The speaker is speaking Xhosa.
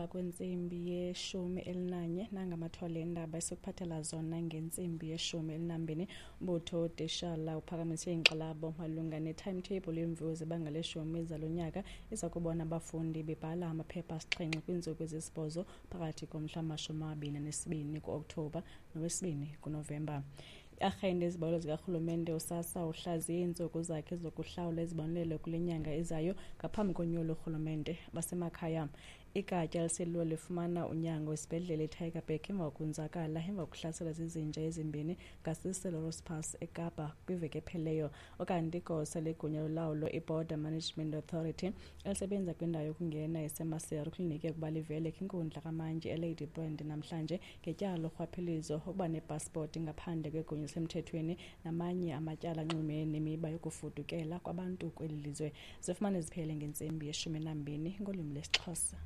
Kwentsimbi ye-11 nangamathole endaba esikuphathela zona ngentsimbi ye-12. Umbutho wootitshala uphakamise inkxalabo malunga ne-timetable yeemviwo zebanga leshumi zalo nyaka iza kubona abafundi bebhala amaphepha 7 kwiintsuku ezisibhozo phakathi komhla 22 ku-Okthobha nowesibini kuNovemba. I-arhente yezibalo zikarhulumente uSASSA uhlaziye iintsuku zakhe zokuhlawula izibonelelo kule nyanga izayo ngaphambi konyulo lorhulumente basemakhaya. Igatya eliselula lifumana unyango esibhedlele eTygerberg emva kokonzakala emva kokuhlaselwa zizinja ezimbini ngaseSelorus Pass eKapa kwiveki ephelileyo. Ukanti igosa legunya lolawulo iBorder Management Authority elisebenza kwindawo yokungena eseMaseru kulinike ukuba livele kwinkundla kamantyi eLadybrand namhlanje ngetyala lorhwaphilizo, ukuba nepasipoti ngaphandle kwegunya elisemthethweni namanye amatyala anxulumene nemiba yokufudukela kwabantu kweli lizwe. Zifumane ziphele ngentsimbi ye-12 ngolwimi lwesiXhosa.